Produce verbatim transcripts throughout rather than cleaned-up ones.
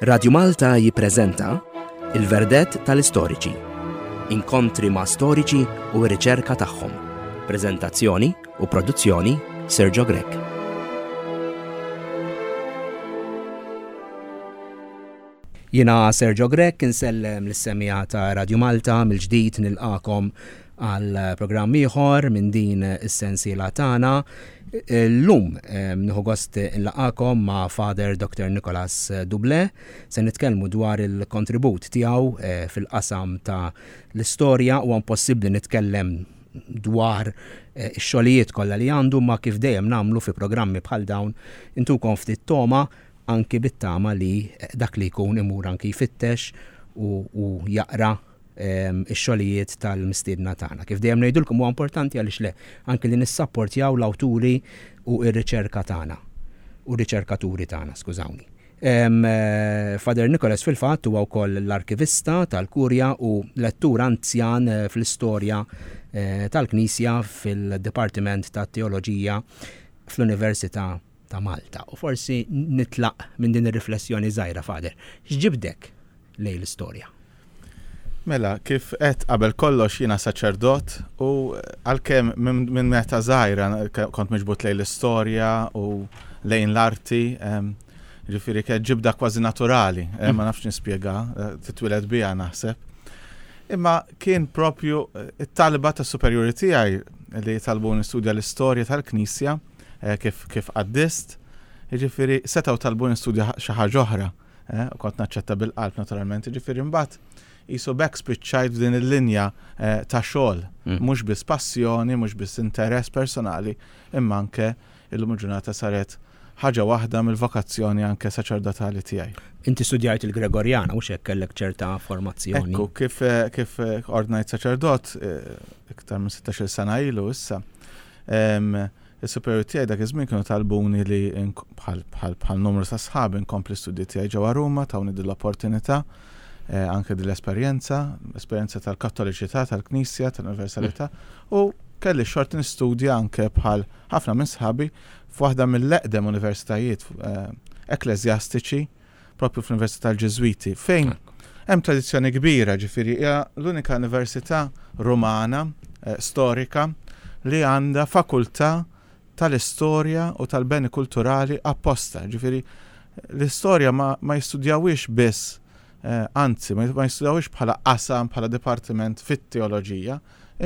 Radju Malta jippreżenta Il-Verdett tal-Istoriċi. Inkontri ma' storiċi u r-riċerka tagħhom. Preżentazzjoni u produzzjoni Sergio Grech. Jiena Sergio Grech insellem lis-semija ta' Radju Malta mill-ġdid nilqakom għal programm ieħor minn din is-sensiela tagħna. Illum nieħu gost nlaqakom ma' Father Doctor Nicholas Duble. Se nitkellmu dwar il-kontribut tiegħu eh, fil-qasam ta' l-istorja u impossibbli nitkellem dwar eh, ix-xogħlijiet kollha li għandu ma kif dejjem nagħmlu fi programmi bħal dawn intukom ftit toma anki bit-tama li eh, dak li jkun imur anki jfittex u, u jaqra ix-xogħlijiet tal-mistiedna tagħna. Kif dejjem ngħidulkom huwa importanti għaliex le anki li nissapportjaw l-awturi u r-riċerka tagħna u r-riċerkaturi tagħna, skużawni. Eh, Father Nicholas fil-fatt huwa wkoll l-arkivista tal-Kurja u lettur anzjan eh, fl-istorja eh, tal-Knisja fil-Dipartiment tat-Teoloġija fl-Università ta' Malta. U forsi nitlaq minn din ir-riflessjoni żgħira, Father. X'ġibdek lejn l-istorja? Mela, kif qed qabel kollox jiena saċerdot u għalkemm minn meta żgħira kont miġbut lejn l-istorja u lejn l-arti, ġifieri kienet ġibda kważi naturali, eh, ma nafx nispjega, eh, titwieled biha naħseb. Imma kien propju eh, it-talba ta' superjuri tiegħi li talbu nistudja l-istorja tal-Knisja kif kif qaddist, ġifieri setgħu talbu nistudja xi ħaġa oħra, u kont naċċetta bil-qalb naturalment, ġifieri mbagħad jisu bekk spiċċajt f'din il-linja eh, ta' xogħol, mm. mhux biss passjoni, mhux biss interess personali, imma anke illum il-ġurnata saret ħaġa waħda mill-vokazzjoni anke saċerdotali tiegħi. Inti studjajt il-Gregorjana, u hekk kellek ċerta formazzjoni. Ekku, kif, eh, kif eh, ordnajt saċerdot, iktar minn sittax-il sena ilu issa, is-superjuri tiegħi dak iż-żmien kienu talbuni li bħal bħal numru ta' sħabi nkompli studji tiegħi ġewwa Ruma, tawni din l-opportunità. Eh, anke din l-esperjenza, esperjenza tal-kattoliċità, tal-Knisja, tal-Universalità, u kelli xorti nistudja anke bħal ħafna minn sħabi f'waħda mill-eqdem universitajiet eh, ekklesjastiċi propju fl-Università tal-Ġiżwiti, fejn hemm tradizzjoni kbira, ġifieri hija l-unika università Rumana eh, storika li għandha fakultà tal-istorja u tal-beni kulturali apposta, ġifieri l-istorja ma, ma jistudjawhiex biss, eh, anzi, ma jistudjawhiex bħala qasam, bħala dipartiment fit-teoloġija,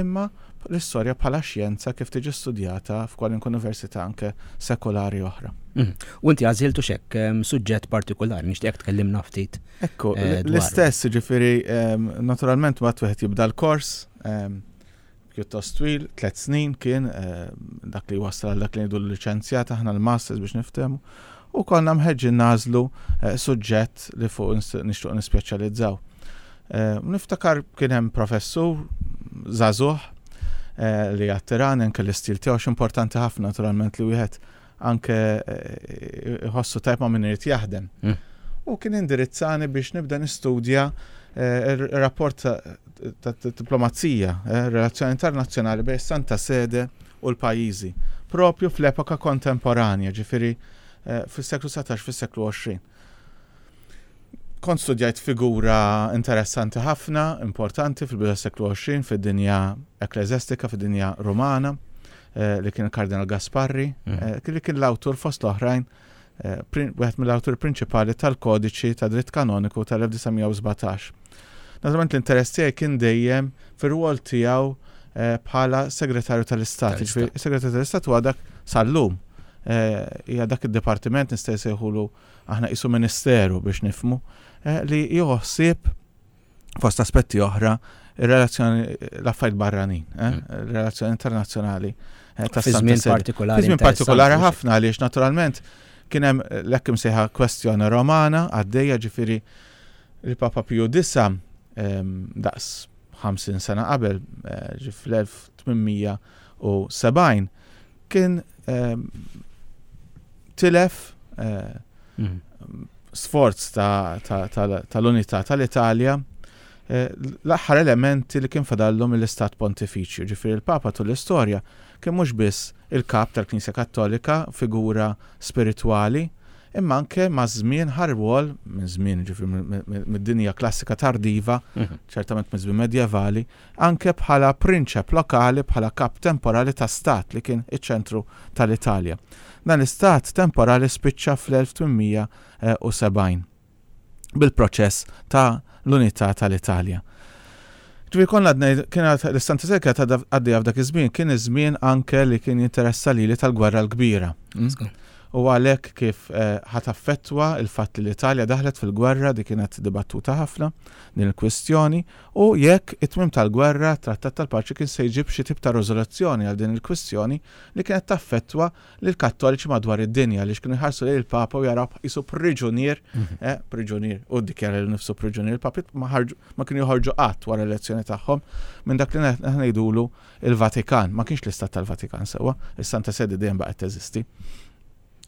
imma l-istorja bħala xjenza kif tiġi studjata f'kwalunkwe università anke sekolari oħra. Mm. U inti għażiltu xek suġġett partikolari, nixtieq tkellimna ftit. Ekku, eh, l-istess, ġifieri, naturalment waqt wieħed jibda l-kors, pjuttost twil, tliet snin kien eh, dak li wassal għal dak li ngħidu l-liċenzjat aħna l-masters biex niftehmu, u konna mħeġġin nażlu eh, suġġett li fuq nixtieq nispeċjalizzaw. Eh, niftakar kien hemm professur żagħżugħ li attirani anke l-istil tiegħu, x'importanti ħafna naturalment li wieħed anke iħossu tajb ma' min irid jaħdem. Mm. U kien indirizzani biex nibda nistudja ir-rapport ta' diplomazija, relazzjoni internazzjonali bejn Santa Sede u l-pajjiżi, propju fl-epoka kontemporanja, ġifieri fis-seklu satax, fis-seklu għoxrin. Kont studjajt figura interessanti ħafna, importanti fil-bidu tas-seklu għoxrin fid-dinja ekklesjastika, fid-dinja Rumana, li kien il-Kardinal Gasparri, li kien l-awtur fost l-oħrajn, wieħed mill-awturi prinċipali tal-kodiċi ta' dritt kanoniku tal-elf disa' mija u sbatax. Naturalment l-interess tiegħi kien dejjem fir-rwol tiegħu bħala segretarju tal-Istat. Ġifieri, segretarju tal-Istat huwa dak sal-lum. Hija dak id-dipartiment nista' jsejħulu aħna qisu ministeru biex nifhmu, li jieħu ħsieb fost aspetti oħra ir-relazzjoni l-affarijiet barranin, ir-relazzjoni internazzjonali ta' Fi żmien partikolari. Fi żmien partikolari ħafna għaliex naturalment kien hemm l-hekk imsejħa kwestjoni Romana għaddejja, ġifieri il-Papa Piju disa, daqs ħamsin sena qabel, ġi fl-elf tmien mija u sebgħin, kien tilef sforz tal-unità tal-Italja, l-aħħar elementi li kien fadallu mill-Istat Pontifiċju. Ġifieri il-Papa tul l-istorja kien mhux biss il-kap tal-Knisja Kattolika, figura spiritwali, Imma anke ma' żmien ħa rwol, minn żmien ġifieri mid-dinja klassika tardiva, Mhm. ċertament minn żmien medjevali, anke bħala prinċep lokali, bħala kap temporali ta' stat li kien iċ-ċentru tal-Italja. Dan l-istat temporali spiċċa fl-elf tmien mija u sebgħin bil-proċess ta' l-unità tal-Italja. Ġifieri konna għadna, kienet l-Santa Sede kienet għaddejja f'dak iż-żmien, kien iż-żmien anke li kien jinteressa lili tal-Gwerra l-Kbira. Mm? Żgur. U għalhekk kif eh, ħat affettwa il-fatt li l-Italja daħlet fil-gwerra, di kienet dibattuta ħafna din il-kwistjoni, u jekk it-tmiem tal-gwerra, trattat tal-paċi kien se jġib xi tip ta' riżoluzzjoni għal din il-kwistjoni li kienet taffettwa lil kattoliċi madwar id-dinja li kienu jħarsu lejn il-Papa u jaraw qisu priġunier, Mhm. eh, priġunier, u ddikjara lil nifsu priġunier, il-Papi ma ħarġu, ma kienu joħorġu qatt wara l-elezzjoni tagħhom minn dak li ngħidulu il-Vatikan, ma kienx l-Istat tal-Vatikan sewwa, is-Santa Sede dejjem baqgħet teżisti.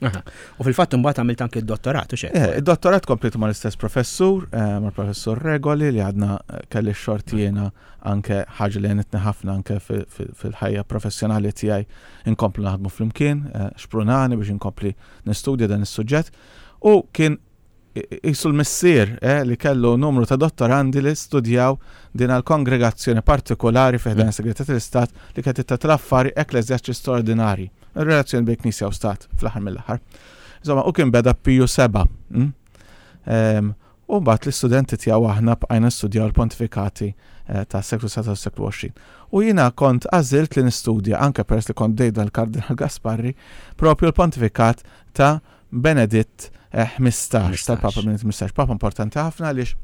Aha. U fil-fatt imbagħad għamilt anke d-dottorat, u xek. Eh, Id-dottorat komplitu mal-istess professur, eh, mal-professur Regoli, li għadna eh, kelli xorti jiena anke ħaġa li għenitni ħafna anke fi- fi- fil-ħajja professjonali tiegħi inkomplu naħdmu flimkien, eh, xprunani biex inkompli nistudja dan is-suġġett. U kien qisu l-missier eh, li kellu numru ta' dottorandi li studjaw din għal-kongregazzjoni partikolari fi ħdan segretarjat tal-Istat li kienet tittratta l-affari ekkleżjastiċi straordinari, il-relazzjoni bejn Knisja u Stat fl-aħħar mill-aħħar. Insomma, u kien beda Piju Seba. mm? Em, U mbagħad l-istudenti tiegħu aħna bqajna nistudjaw il-pontifikati eh, ta' seklu sbatax u seklu għoxrin. U jiena kont għażilt li nistudja anke peress li kont bdejt dal-Kardinal Gasparri propju l-pontifikat ta' Beneditt eh, ħmistax, tal-Papa Beneditt ħmistax, Papa importanti ħafna għaliex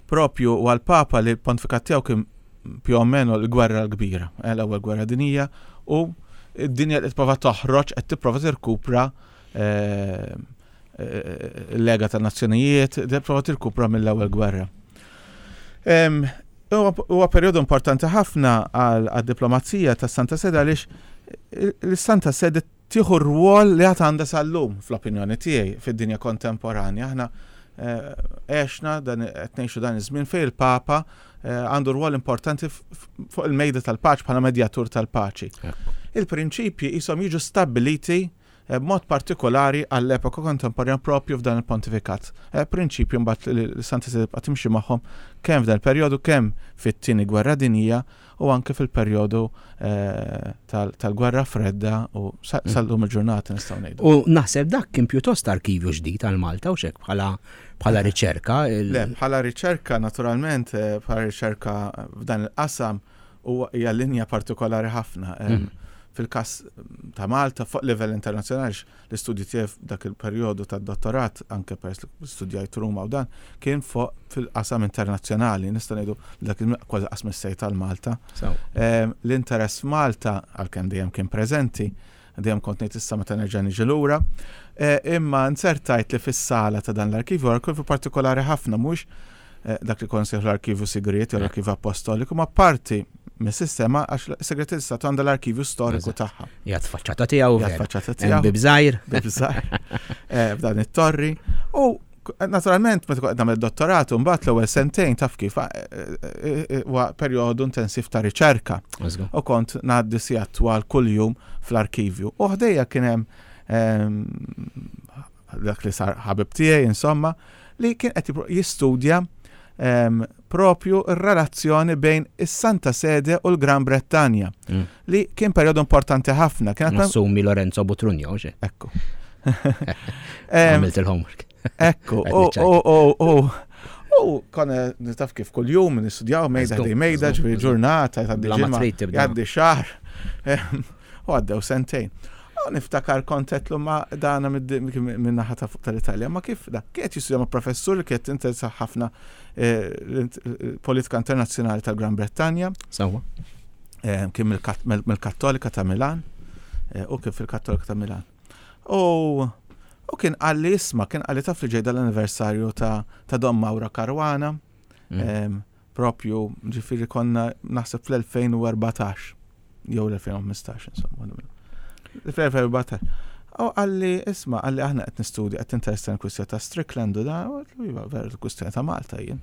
propju u għal-Papa li l-pontifikat tiegħu kien più o meno l-gwerra l-kbira, eh, l-ewwel gwerra dinija, u id-dinja qed tipprova toħroġ, qed tipprova tirkupra eh, eh, l-Lega tan-Nazzjonijiet, tipprova tirkupra mill-ewwel gwerra. Em, Huwa huwa perjodu importanti ħafna għal għad-diplomazija tas Santa Sede għaliex l-Santa Sede tieħu rwol li għad għandha sal-lum fl-opinjoni tiegħi fid-dinja kontemporanja. Aħna eh, għexna dan qed ngħixu dan iż-żmien fejn il-Papa eh, għandu rwol importanti f- f- fuq il-mejda tal-paċi bħala medjatur tal-paċi. Il-prinċipji qishom jiġu stabiliti eh, b'mod partikolari għall-epoka kontemporanja propju f'dan il-pontifikat. Eh, Prinċipju mbagħad li l-Santa Sede tibqa' timxi magħhom kemm f'dan il-perjodu kemm fit-tieni gwerra dinjija u anke fil-perjodu eh, tal- tal-gwerra fredda u sa- sal-lum il-ġurnata nistgħu ngħidu. U naħseb dak kien pjuttost arkivju ġdid għal Malta u xek bħala bħala riċerka. il- Le, bħala riċerka naturalment, eh, bħala riċerka f'dan il-qasam huwa hija linja partikolari ħafna. Em, Mm. Fil-kas ta' Malta fuq livell internazzjonali l-istudju tiegħi f'dak il-perjodu tad-dottorat anke peress li studjajt Ruma u dan kien fuq fil-qasam internazzjonali, nista' ngħidu li dak il kważi qasam is tal-Malta. So, Em, L-interess f'Malta għalkemm dejjem kien preżenti, dejjem kont ngħid issa meta nerġa' niġi lura, eh, imma nzertajt li fis-sala ta' dan l-arkivju, arkivju partikolari ħafna mhux eh, dak li kon sejħu l-arkivju sigriet jew l-arkivju apostoliku, ma parti mis-sistema għax s-segretarju Stat għandha l-arkivju storiku Eżatt. tagħha. Jgħat faċċata tiegħu Jgħat vera. faċċata Hemm tiegħu. Bib żgħir. Bib żgħir, eh, f'dan it-torri. U naturalment meta kont nagħmel dottorat u mbagħad l-ewwel sentejn taf kif eh, eh, eh, huwa perjodu intensiv ta' riċerka. Żgur. U kont ngħaddi sigħat twal kuljum fl-arkivju. U ħdejja kien hemm ehm, dak li sar ħabib tiegħi insomma li kien qed jipro- jistudja ehm, propju r-relazzjoni bejn is-Santa Sede u l-Gran Brettanja Mm. li kien perjodu importanti ħafna. Kien Nassumi Lorenzo Botrugno, xek. Ekku. Ehm, Għamilt il-homework. Ekku, Qed u, niċċajta. u, u, u, u konna nitaf kif kull-jum nistudjaw mejda Żgur, ħdej mejda, żgur, ġifieri żgur. ġurnata, tgħaddi Bla ma ġimgħa, trid tibda. jgħaddi xahar, Ehm, u għaddew sentejn. U niftakar kont għedtlu ma dana minn naħa ta' fuq tal-Italja, ma kif da? Kienet jistudja ma' professur li kienet interessa ħafna eh, l-politika internazzjonali tal-Gran Brettanja, Sewwa. eh, kien mill-Kat- mill- mill-Kattolika ta' Milan, eh, u kien fil-Kattolika ta' Milan. U u kien qalli isma', kien qalli taf li ġej dal-anniversarju ta' ta' Don Mauro Caruana, Mm. em, propju ġifieri konna naħseb fl-elfejn u erbatax, jew l-elfejn u ħmistax, insomma. Fl-elfejn u erbatax. U qalli, isma', qalli aħna qed nistudja, qed interessa l-kwistjoni ta' Strickland u da, u għedtlu, iva, vera l-kwistjoni ta' Malta jien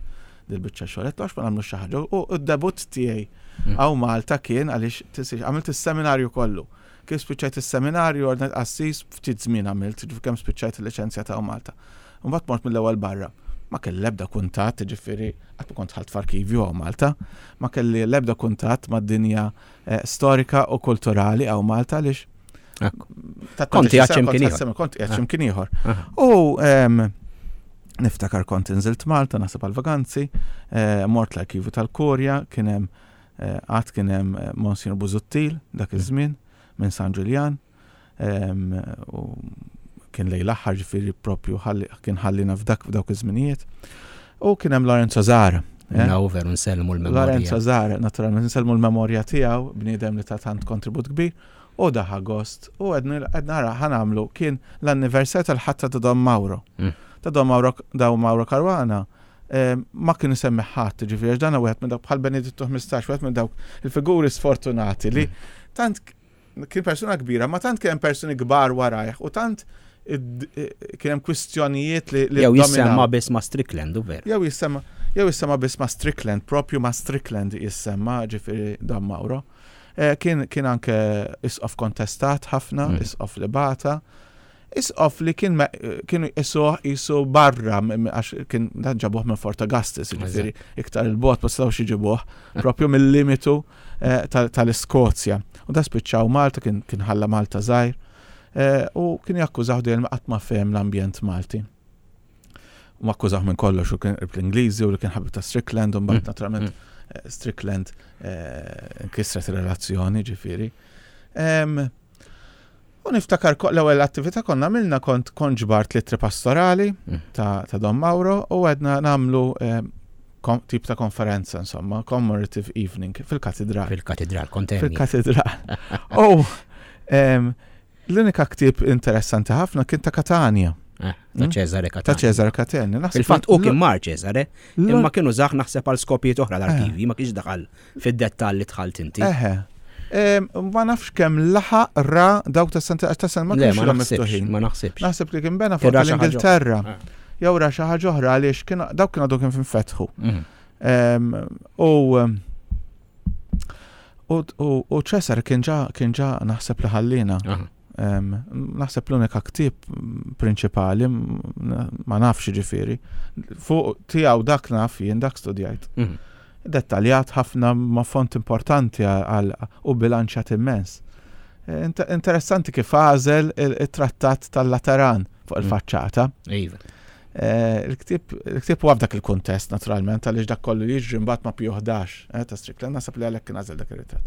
dil-biċċa xogħol, għedtlu għax ma nagħmlu xi ħaġa. U d-debut tiegħi Mm. hawn Malta kien għaliex tinsiex għamilt is-seminarju kollu. Kif spiċċajt is-seminarju, ordnajt qassis, ftit żmien għamilt, ġifieri kemm spiċċajt il-liċenzja ta' Malta. Mbagħad mort mill-ewwel barra. Ma kelli l-ebda kuntatt, ġifieri qatt ma kont dħalt f'arkivju hawn Malta, ma kelli l-ebda kuntatt mad-dinja eh, storika u kulturali hawn Malta għaliex Ekku. ta' Kont qiegħed kont x'imkien ieħor. Kont qiegħed x'imkien ieħor. Aha. U em, niftakar kont inżilt Malta, naħseb għal-vaganzi, eh, mort l-arkivju tal-Kurja, kien hemm eh, għad kien hemm eh, Monsignor Busuttil dak iż-żmien minn San Ġiljan, em, u kien lejn l-aħħar ġifieri propju ħalli- kien ħallina f'dak f'dawk iż-żminijiet. U kien hemm Lorenzo Zahra. eh? Naw veru nsellmu l-memorja. Lorenzo Zahra, naturalment nsellmu l-memorja tiegħu, bniedem li ta' tant kontribut kbir, u daħa gost, u għedna għedna ħa nagħmlu kien l-anniversarju tal-ħatra ta' Don Mauro. Mm. Ta' Don Mauro, Don Mauro Caruana, eh, ma kienu semmi ħadd, ġifieri għax dan wieħed minn dawk bħal Benedittu ħmistax, wieħed minn dawk il-figuri sfortunati li tant kien persuna kbira, ma tant kien hemm persuni kbar warajh u tant id- kien hemm kwistjonijiet li li Jew jissemma dominaw. biss ma' Strickland, u veru. Jew jissemma jew jissemma biss ma' Strickland, propju ma' Strickland jissemma ġifieri Don Mauro. Eh, Kien kien anke isqof kontestat ħafna, Mm. isqof li bata, isqof li kien me- kienu jisuh jisu barra m- m- għax kien dan ġabuh minn Fort Augustus, ġifieri iktar il-bot ma setgħux iġibuh propju mill-limitu eh, tal- tal-Iskozja. U da spiċċaw Malta, kien kien ħalla Malta żgħir. Eh, U kien jakkużaw dejjem qatt ma fehem l-ambjent Malti. U akkużaw minn kollox u kien qrib l-Ingliżi u li kien ħabib ta' Strickland u mbagħad Mm. naturalment eh, Strickland eh, nkisret ir-relazzjoni ġifieri. Em, U niftakar ko- l-ewwel attività konna għamilna kont kont ġbart l-ittri pastorali Mm. ta' ta' Don Mauro u għedna nagħmlu em, kom- tip ta' konferenza insomma, commemorative evening fil-katedral. Fil-katedral, kontemmi. Fil-katedral. U em, l-unika ktieb interessanti ħafna kien ta' Katania, Eh, Ta' Mm. Cesare ta' Catania. Cesare Catania. Naħseb Fil-fatt u l- kien mar Cesare, l- imma kienu zaħ naħseb għal skopijiet oħra l-arkivi, ma kienx daħal fid-dettall li dħalt inti. Eħe. Em, Ma nafx kemm laħaq ra dawk ta' Santa ta' San ma Le, kienx ma ilhom naħsibx, miftuħin. ma naħsibx. Naħseb li kien bena Kien fuq ra xi ħaġa l-Ingilterra. Ah. Jew ra xi ħaġa oħra għaliex kien dawk kienu għadu kien finfetħu. Mhm. Em, U em, u u- u Cesare kien ġa kien ġa naħseb li ħallina. Aha. Em, Naħseb l-unika ktieb prinċipali m- ma nafx ġifieri. Fuq tiegħu dak naf jien dak studjajt. Mhm. Dettaljat ħafna ma font importanti għal u bilanċjat immens. Eh, int- Interessanti kif għażel il-trattat tal-Lateran fuq Mm. il-faċċata. Iva. Eh, Il-ktieb il-ktieb huwa f'dak il-kuntest naturalment għaliex dak kollu jiġri mbagħad ma' Pio ħdax eh, ta' Strickland naħseb li għalhekk kien għażel dak ir-ritratt.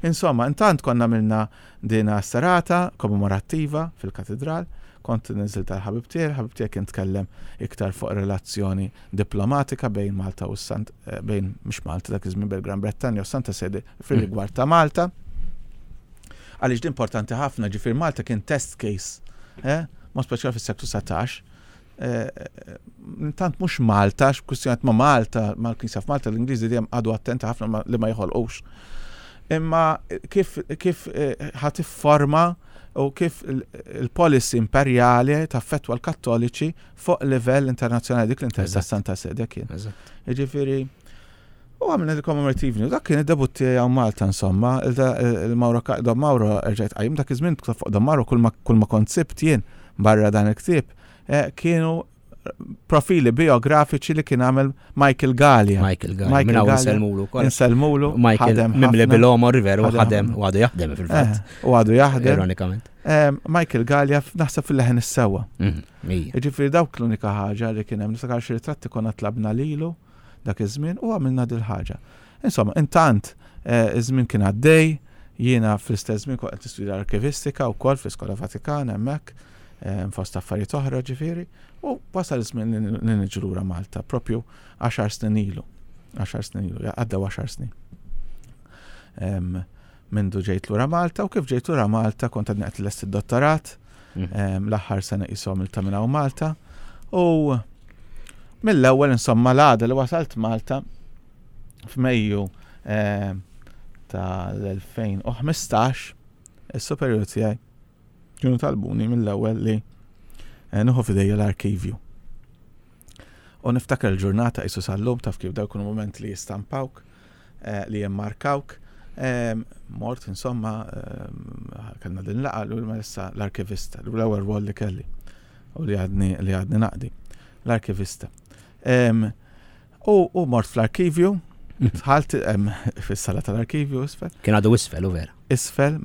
Insomma, intant konna għamilna dina serata kommemorattiva fil-katedral, kont niżilt tal-ħabib tiegħi, il-ħabib tiegħi kien tkellem iktar fuq relazzjoni diplomatika bejn Malta u Sant eh, bejn mhux Malta dak iż-żmien bejn Gran Brettanja u Santa Sede fir-rigward ta' Malta. Għaliex din importanti ħafna, ġifier Malta kien test case, eh, mod speċjali fis-seklu satax. Eh, eh, Intant mhux Malta, x'kwistjonijiet ma' Malta, mal-Knisja f'Malta, l-Ingliżi dejjem għadu attenti ħafna ma- li ma jħolqux. Imma kif kif eh, ħa tifforma u kif il- il-policy imperjali taffettwa l-Kattoliċi fuq livell internazzjonali dik l-interess ta' Eżatt. Santa Sede kien. Eżatt. Jiġifieri, u għamilna il-commemorative evening, u dak kien id-debut tiegħi Malta insomma, il-Mauro Don Mauro rġajt qajjim dak iż-żmien fuq Don Mauro kull ma kull ma kont sibt jien barra dan il-ktieb eh, kienu profili biografiċi li kien għamel Michael Galea. Michael Galea. Michael Minn hawn Galea. nsellmulu wkoll. Insellmulu, Michael ħadem mimli ħafna. bil-omor veru Ħadem ħadem u għadu jaħdem fil-fatt. Eh, U għadu jaħdem. Ironikament. Eh, Michael Galea naħseb fil-leħen is-sewwa. Mhm, Ija. Jiġifieri dawk l-unika ħaġa li kien hemm niftakar xi ritratti konna tlabna lilu dak iż-żmien u għamilna dil ħaġa. Insomma, intant eh, iż-żmien kien għaddej, jiena fl-istess żmien kont qed nistudja arkivistika wkoll fl-Iskola Vatikan hemmhekk, eh, fost affarijiet oħra ġifieri, u wasal iż-żmien li li niġu lura Malta, propju għaxar snin ilu. Għaxar snin ilu, għaddew għaxar snin. Em, Mindu ġejt lura Malta u kif ġejt lura Malta kont għadni qed lest id-dottorat, Mhm. Em, l-aħħar sena qishom il-taminaw Malta u mill-ewwel insomma l-għada li wasalt Malta f'Mejju em, tal-elfejn u ħmistax is-superjur tiegħi kienu talbuni mill-ewwel li eh, nieħu f'idejja l-arkivju. U niftakar il-ġurnata qisu sal-lum taf kif daw jkunu moment li jistampawk, eh, li jimmarkawk, Mort, insomma, kellna din laqgħa l issa l-arkivista, l-ewwel rwol li kelli u li għadni li għadni naqdi, l-arkivista. U mort fl-arkivju, dħalt fis-sala tal-arkivju isfel. Kien għadu isfel, u vera. Isfel.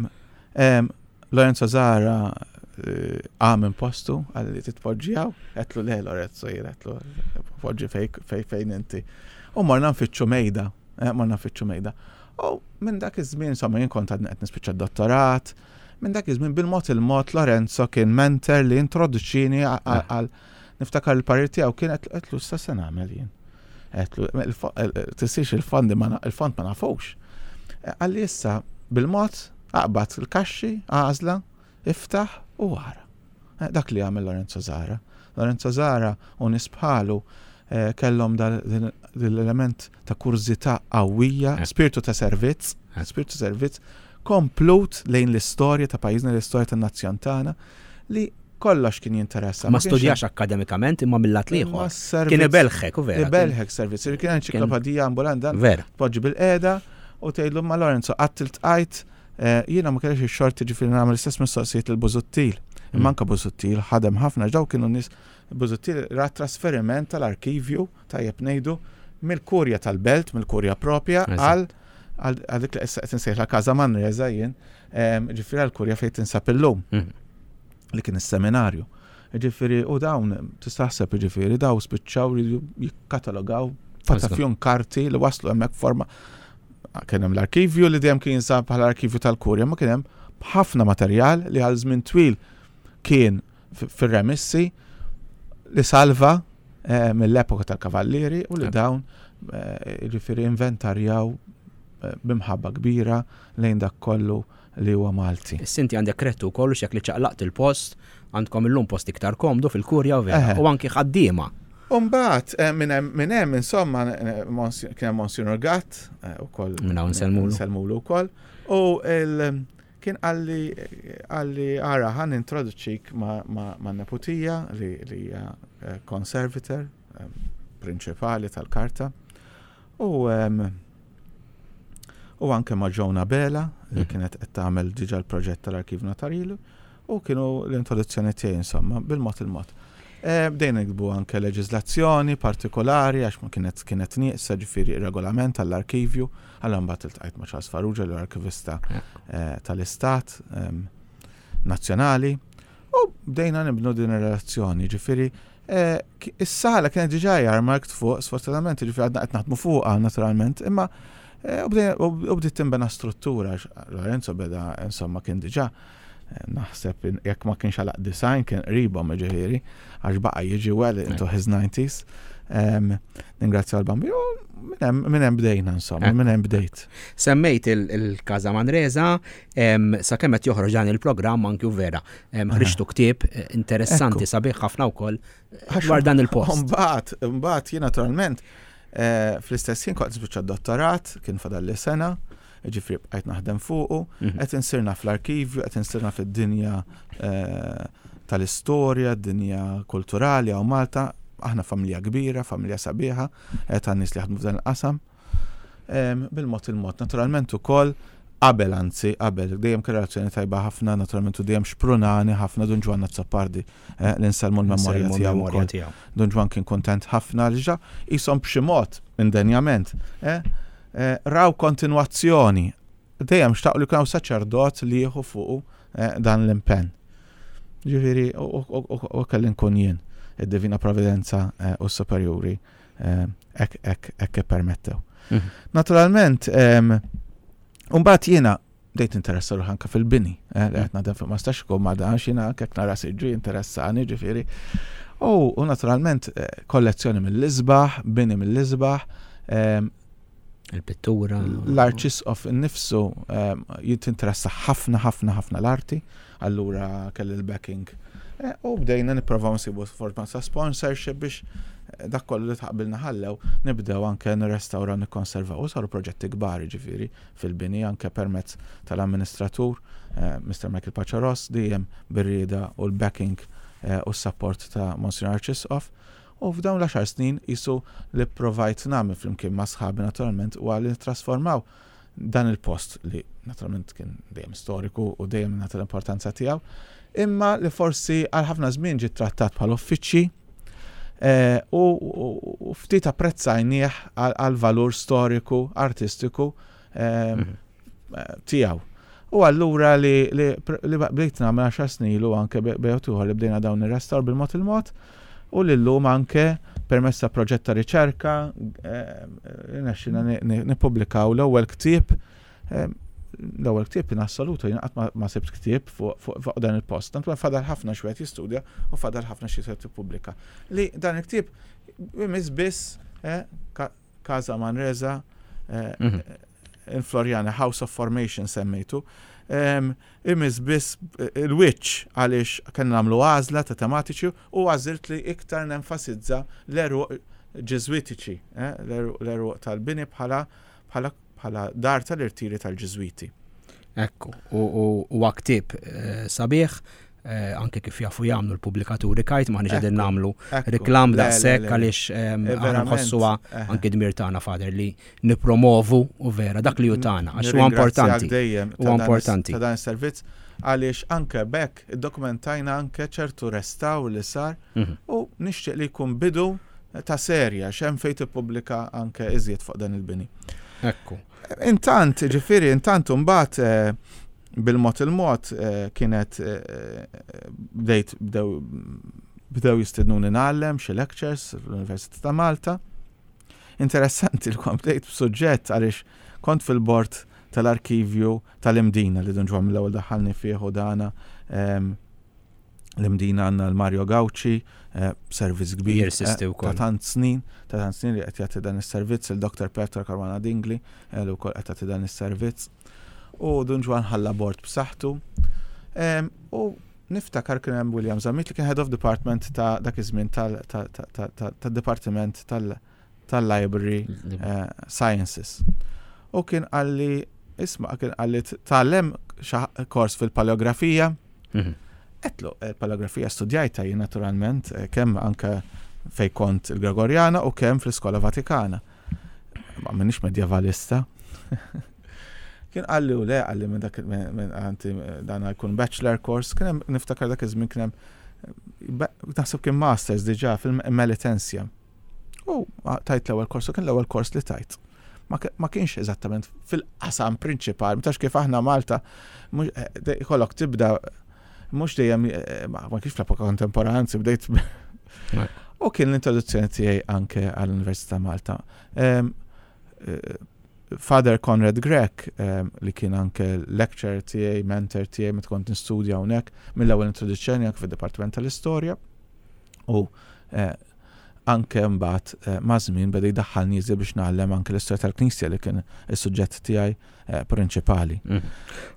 Lorenzo Zara qam minn postu, qalli titpoġġi hawn, għedtlu le Lorenzo, jien għedtlu poġġi fej fejn inti. U morna nfittxu mejda, morna nfittxu mejda. U minn dak iż-żmien, insomma, jien kont għadni qed nispiċċa dottorat, minn dak iż-żmien bil-mod il-mod Lorenzo kien mentor li introduċini għal niftakar il-parir tiegħu kien għedtlu issa se nagħmel jien. Għedtlu tisix il-fondi il-fond ma nafux. Qalli issa bil-mod aqbad il-kaxxi, għażla, iftaħ u wara. Dak li għamel Lorenzo Zara. Lorenzo Zara u nies bħalu kellhom l-element ta' kurżità qawwija, spiritu ta' servizz, spiritu servizz, komplut lejn l-istorja ta' pajjiżna, l-istorja tan-nazzjon tagħna, li kollox kien jinteressa. Ma studjax akkademikament imma mill-lat l-ieħor. Kien ibelħek, u vera. Ibelħek servizz. Kien enċiklopedija ambulanta. Vera. Poġġi bil-qeda u tgħidlu ma Lorenzo qatt iltqajt, jiena ma kellix ix-xorti ġifieri nagħmel l-istess mistoqsijiet lil Busuttil. Imma anke Busuttil ħadem ħafna daw kienu nies Busuttil ra trasferiment tal-arkivju tajjeb ngħidu mill-kurja tal-belt, mill-kurja propja għal għal dik li issa qed insejħla Casa Manresa jien, ġifieri għall-kurja fejn tinsab illum. Li kien is-seminarju. Ġifieri u dawn tistaħseb ġifieri daw spiċċaw li jikkatalogaw patafjon karti li waslu hemmhekk forma. Kien hemm l-arkivju li dejjem kien jinsab bħala arkivju tal-kurja, ma kien hemm ħafna materjal li għal żmien twil kien fir-remissi li salva mill-epoka tal-kavallieri u li dawn ġifieri inventarjaw b'imħabba kbira lejn dak kollu li huwa Malti. Issa inti għandek krettu wkoll x'jekk li ċaqlaqt il-post, għandkom illum post iktar komdu fil-kurja u vera, u anki ħaddiema. Umbagħad minn hemm insomma kien hemm Monsignor Gatt ukoll. Minn hawn nsellmulu. Nsellmulu wkoll. U kien qalli qalli ara ħa nintroduċik ma' neputija li hija conservator prinċipali tal-karta. U u anke ma' Joan Abela li kienet qed tagħmel diġà l-proġett tal-Arkiv Notarili u kienu l-introduzzjoni tiegħi insomma bil-mod il-mod. Bdejna nikbu anke leġiżlazzjoni partikolari għax ma kienet kienet nieqsa ġifieri regolament għall-arkivju, allura mbagħad iltqajt ma' Charles Farrugia l-arkivista tal-Istat Nazzjonali u bdejna nibnu din ir-relazzjoni, ġifieri is-sala kienet diġà earmarked fuq, sfortunatament ġifieri għadna qed naħdmu fuqha naturalment, imma u bdiet tinbena struttura, Lorenzo beda insomma kien diġà naħseb jekk ma kienx għalaq design kien qribhom ġifieri għax baqa' jiġi well into his nineties. Ningrazzja l-Bambin minn hemm bdejna insomma, minn hemm bdejt. Semmejt il-Casa Manresa, sakemm qed joħroġ dan il-programm anki u vera. Ħriġtu ktieb interessanti sabiħ ħafna wkoll dwar dan il-post. Mbagħad, mbagħad jien naturalment fl-istess ħin kont nispiċċa d-dottorat, kien fadalli sena, ġifieri bqajt naħdem fuqu, qed insirna fl-arkivju, qed insirna fid-dinja tal-istorja, d-dinja kulturali hawn Malta, aħna familja kbira, familja sabiħa, tan nies li jaħdmu f'dan il-qasam. Bil-mod il-mod, naturalment ukoll qabel anzi, qabel, dejjem kien relazzjoni tajba ħafna, naturalment u dejjem xprunani ħafna Dun Ġwann Azzopardi, li nsellmu l-memorja tiegħu wkoll. Dun Ġwann kien kuntent ħafna li ġa qishom b'xi mod indenjament, raw kontinwazzjoni. Dejjem xtaqu li kien saċerdot li jieħu fuqu dan l-impenn. Ġifieri u kelli nkun jien id-Divina Providenza u s-Superjuri hekk hekk hekk ippermettew. Naturalment, mbagħad jiena bdejt interessa ruħi anke fil-bini, li qed naħdem fuq ma stax ikun ma danx jiena anke jekk nara siġġu jinteressani ġifieri. U naturalment kollezzjoni mill-isbaħ, bini mill-isbaħ, il-pittura. L-Arċisqof innifsu jinteressa ħafna ħafna ħafna l-arti, allura kelli l-backing. U bdejna nipprovaw nsibu forma ta' sponsorship biex dak kollu li taqbilna ħallew nibdew anke nirrestawraw nikkonservaw. U saru proġetti kbar ġifieri fil-bini anke permezz tal-amministratur Mister Michael Paċaros dejjem bir-rieda u l-backing u s-support ta' Monsignor Arċisqof. U f'dawn l-għaxar snin qisu li provajt nagħmel flimkien ma' sħabi naturalment u għalli nittrasformaw dan il-post li naturalment kien dejjem storiku u dejjem nagħti l-importanza tiegħu, imma li forsi għal ħafna żmien ġie trattat bħal uffiċċji eh, u, u, u ftit apprezzajnieh għal valur storiku, artistiku eh, Mhm. tiegħu. U allura li, li, li bdejt nagħmel għaxar snin ilu anke bejn li bdejna dawn ir-restawr bil-mod il-mod u li llum anke permezz ta' proġett ta' riċerka rnexxina nippubblikaw l-ewwel ktieb, eh, l-ewwel ktieb in assoluto, jien qatt ma- ma sibt ktieb fuq fuq- fuq dan il-post. Tant fadal ħafna x'wieħed jistudja u fadal ħafna xi tippubblika. Li dan il-ktieb imiss biss eh, Ka- Casa Manresa eh, Mhm. in Floriana, House of Formation semmejtu. Um, imiss biss il-wiċċ għaliex kellna nagħmlu għażla ta' tematiċi u għażilt li iktar nenfasizza l-għeruq Ġiżwitiċi, eh, l-għeruq tal-bini bħala bħala bħala dar tal-irtiri tal-Ġiżwiti. Ekku, u huwa ktieb eh, sabiħ, eh, anke kif jafu jagħmlu l-pubblikaturi Kite, ma qegħdin nagħmlu reklam daqshekk għaliex ehm, aħna nħossuha anke dmir tagħna, Father, li nippromovu u vera dak li hu tagħna għax huwa importanti. Huwa importanti. Ta' dan is-servizz għaliex anke bekk iddokumentajna anke ċertu restawr li sar Mhm. u nixtieq li jkun bidu ta' serja x'hemm fejn tippubblika anke iżjed fuq dan il-bini. Ekku. Intant, ġifieri, intant mbagħad eh, bil-mod il-mod eh, kienet eh, bdejt bdew bdew jistednuni ngħallem xi lectures fl-Università ta' Malta. Interessanti li kont bdejt b'suġġett għaliex kont fil-bord tal-arkivju tal-Imdina li Dun Ġwann mill-ewwel daħħalni fih u dana em, l-Imdina għandna l-Mario Gauci, eh, servizz kbir Jirsisti eh, wkoll. ta' tant snin, ta' tant snin li qed jagħti dan is-servizz il-Doktor Petra Caruana Dingli eh, li wkoll qed jagħti dan is-servizz. U Dun Ġwann ħalla bord b'saħħtu. Em, U niftakar kien hemm William Zammit li kien head of department ta' dak iż-żmien tal-dipartiment tal-library eh, sciences. U kien qalli, isma', kien qalli tgħallem xi kors fil-paleografija. Mhm. Għedtlu, il-paleografija studjajta jien naturalment, eh, kemm anke fej kont il-Gregorjana u kemm fl-Iskola Vatikana. Ma minix medjevalista. Kien qalli u le, qalli minn dak minn minn- għanti dan jkun bachelor course, kien hemm niftakar dak iż-żmien kien hemm be- naħseb kien masters diġà fil-Melitensja. U tajt l-ewwel kors, u kien l-ewwel kors li tajt. Ma ki- ma kienx eżattament fil-qasam prinċipali, mtax kif aħna Malta, mhux- eh, de- ikollok tibda mhux dejjem eh, ma ma kienx fl-epoka kontemporanea, anzi bdejt U kien l-introduzzjoni tiegħi anke għall-Università Malta. Em, eh, Father Conrad Grech, em, li kien anke lecturer tiegħi, mentor tiegħi meta kont nistudja hawnhekk, mill-ewwel introduzzjoni anke fid-Dipartiment tal-Istorja. U eh, anke mbagħad eh, ma' żmien beda jdaħħalni iżjed biex ngħallem anke l-istorja tal-Knisja li kien is-suġġett tiegħi eh, prinċipali. Mhm.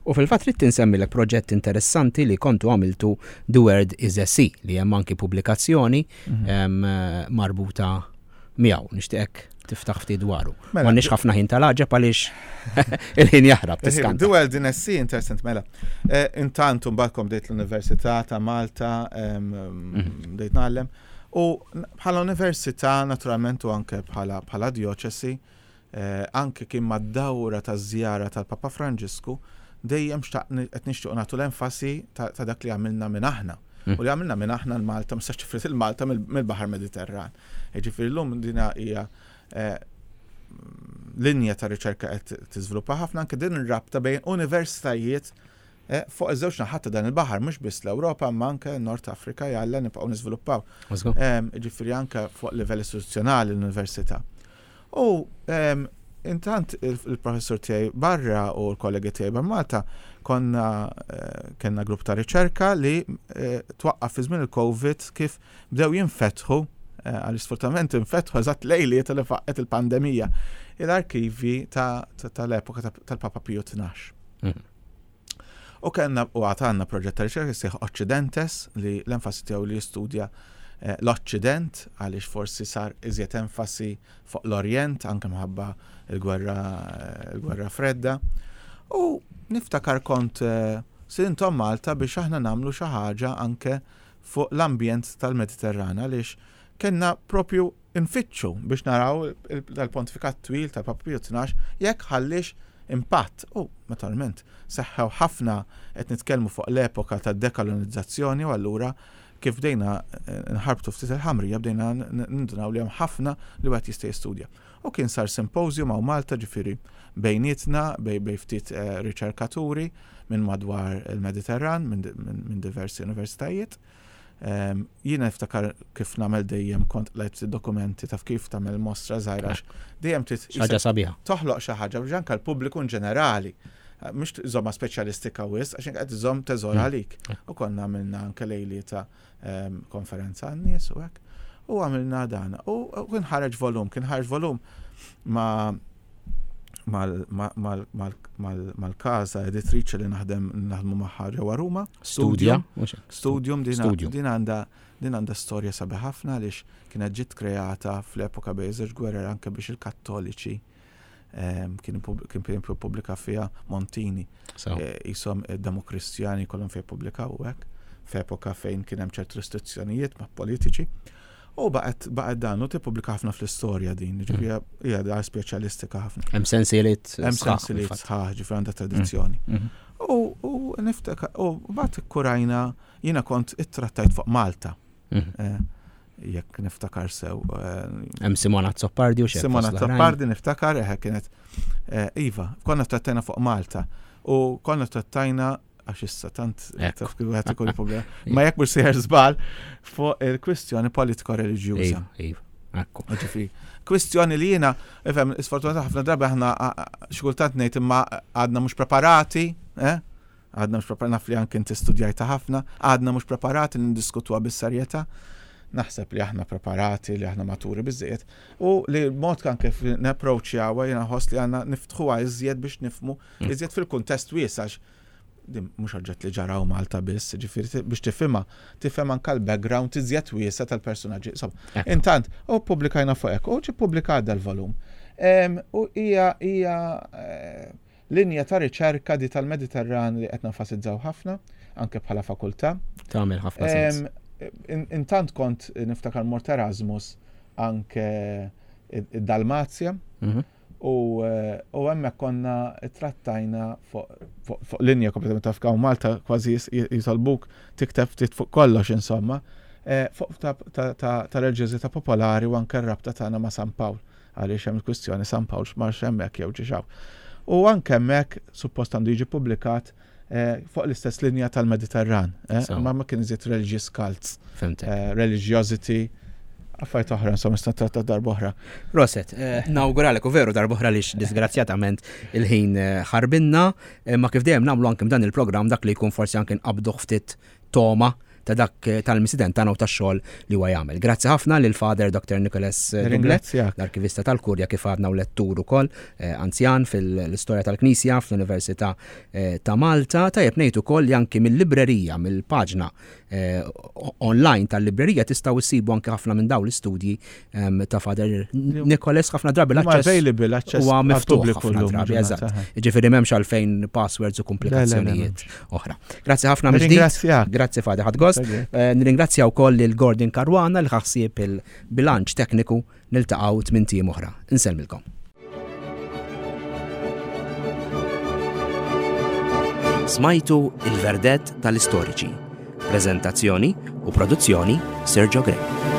U fil-fatt trid insemmilek proġett interessanti li kontu għamiltu, The World is a Sea, li hemm anki pubblikazzjoni Mhm. em, eh, marbuta miegħu. Nixtieqek tiftaħ ftit dwaru. Mela, M'għandniex ħafna ħin tal-għaġeb għaliex il-ħin jaħrab tiskanta. The World in a Sea, interessant, mela. Eh, Intant, mbagħad kom bdejt l-Università ta' Malta, em, Mhm. bdejt ngħallem. U n- bħala università, naturalment, u anke bħala bħala dioċesi, eh, anke kien mad-dawra ta' żjara tal-Papa Franġisku, dejjem xtaqni qed nixtiequ nagħtu l-enfasi ta' ta' dak li għamilna minn aħna. Mm. U li għamilna minn aħna l-Malta, ma sax tifrid il-Malta mill- mill-Baħar Mediterran. Jiġifieri llum dina hija eh, linja ta' riċerka qed tiżviluppa ħafna anke din ir-rabta bejn universitajiet eh, fuq iż-żewġ naħat ta' dan il-baħar, mhux biss l-Ewropa imma anke Nord Afrika jalla nibqgħu niżviluppaw. Let's go. Em, Ġifieri anke fuq livell istituzzjonali l-università. U em, intant il- il-professur tiegħi barra u l-kollegi tiegħi barra Malta konna eh, kellna grupp ta' riċerka li eh, twaqqaf fi żmien il-Covid kif bdew jinfetħu eh, għal sfortunatament infetħu eżatt lejliet li faqqet il-pandemija il-arkivi ta- ta- tal-epoka ta- tal-Papa Pio Tnax. Mhm. U kellna u għatanna proġett ta' riċerka jissejjaħ Occidentes li l-enfasi tiegħu li jistudja eh, l-Occident għaliex forsi sar iżjed enfasi fuq l-Orjent anke minħabba il-gwerra eh, il-gwerra fredda. U niftakar kont eh, stedinthom Malta biex aħna nagħmlu xi ħaġa anke fuq l-ambjent tal-Mediterran għaliex kellna propju nfittxu biex naraw il- dal-pontifikat twil tal-Papa Pio Tnax jekk ħallix impatt. U naturalment seħħew ħafna, qed nitkellmu fuq l-epoka ta' dekolonizzazzjoni, u allura kif bdejna eh, nħarbtu ftit il-ħamrija bdejna nindunaw li hemm ħafna li wieħed jista' jistudja. U kien sar symposium hawn Malta, ġifieri bejnietna, bej bej ftit eh, riċerkaturi minn madwar il-Mediterran, minn diversi universitajiet. Jiena niftakar kif nagħmel dejjem kont lajt dokumenti taf kif tagħmel mostra żgħira, dejjem trid ħaġa sabiħa. Toħloq xi ħaġa biex anke l-pubbliku in ġenerali, mhux żomma speċjalistika wisq, għax qed iżomm teżor mm. għalik. U konna għamilna anke lejlieta konferenza għan-nies u hekk. U għamilna dan. U kien ħareġ volum, kien ħareġ volum ma' mal-kaza editriċi li naħdem naħdmu magħha ġewwa Ruma. Studja. Studium din għandha din għandha storja sabiħ ħafna għaliex kienet ġiet kreata fl-epoka bejn żewġ gwerer anke biex il-Kattoliċi kien kien pubblika fiha Montini. Jisom Demokristjani kollhom fejn pubblikaw hekk f'epoka fejn kien hemm ċerti restrizzjonijiet ma' politiċi. U baqgħet baqgħet dan u tippubblika ħafna fl-istorja din, ġifieri hija dar speċjalistika ħafna. Hemm sensiliet Hemm sensiliet sħaħ, ġifieri għandha tradizzjoni. U niftakar u mbagħad ikkurajna, jiena kont ittrattajt fuq Malta. Jekk niftakar sew. Hemm Simona Azzopardi u xi. Simona Azzopardi niftakar, eħe kienet iva, konna trattajna fuq Malta u konna trattajna għax issa tant taf kif wieħed ikollu problema. Ma jekk mhux sejjer żball fuq il-kwistjoni politiko-reliġjuża. Iva, ekku. Ġifieri, kwistjoni li jiena, ifhem, sfortunatament ħafna drabi aħna xi kultant ngħid imma għadna mhux preparati, eh? Għadna mhux preparati, naf li anke inti studjajta ħafna, għadna mhux preparati niddiskutuha bis-serjetà. Naħseb li aħna preparati, li aħna maturi biżżejjed u li mod anke kif napproċċjawha jiena nħoss li għandna niftħuha iżjed biex nifhmu iżjed fil-kuntest wiesa', din mhux oġġett li ġaraw Malta biss, ġifieri biex tifhimha, tifhem anke l-background iżjed wiesa' tal-personaġġi. Insomma, intant, u ppubblikajna fuq hekk, u ġie ppubblikat dal-volum. U hija hija linja ta' riċerka di tal-Mediterran li qed nenfasizzaw ħafna, anke bħala fakultà. Tagħmel ħafna sens. Intant kont niftakar mort Erasmus anke id-Dalmazja. U hemmhekk konna trattajna fuq linja kompletament taf hawn Malta kważi jitolbuk tikteb ftit fuq kollox insomma, fuq ta' reliġjożità popolari u anke r-rabta tagħna ma' San Pawl, għaliex hemm il-kwistjoni San Pawl x'marx hemmhekk jew ġiex hawn. U anke hemmhekk suppost għandu jiġi ppubblikat fuq l-istess linja tal-Mediterran, ma ma kien iżjed religious cults, religiosity, affarijiet oħra, insomma, nista' tratta darba oħra. Roset, nawguralek u veru darba oħra lix disgrazzjatament il-ħin ħarbinna, ma kif dejjem nagħmlu anke dan il-programm dak li jkun forsi anke nqabduh ftit toma ta' dak tal-misiden tagħna u tax-xogħol li huwa jagħmel. Grazzi ħafna lil Father Doctor Nicholas Doublet, l-arkivista tal-Kurja kif għadna u lettur ukoll anzjan fil-istorja tal-Knisja fl-Università ta' Malta. Tajjeb ngħid ukoll li anki mill-librerija, mill-paġna online tal-librerija tistgħu issibu anke ħafna minn dawn l-istudji ta' Father Nicholas, ħafna drabi l-aċċess huwa miftuħ ħafna drabi, eżatt. Jiġifieri m'hemmx għalfejn passwords u komplikazzjonijiet oħra. Grazzi ħafna mill-ġdid. Grazzi Father, ħadd gost. Nirringrazzja wkoll lil Gordon Caruana li ħassieb il-bilanċ tekniku. Niltaqgħu tmien ijiem oħra. Insellmilkom. Smajtu il-verdett tal-istoriċi. Prezentazzjoni u produzzjoni Sergio Grech.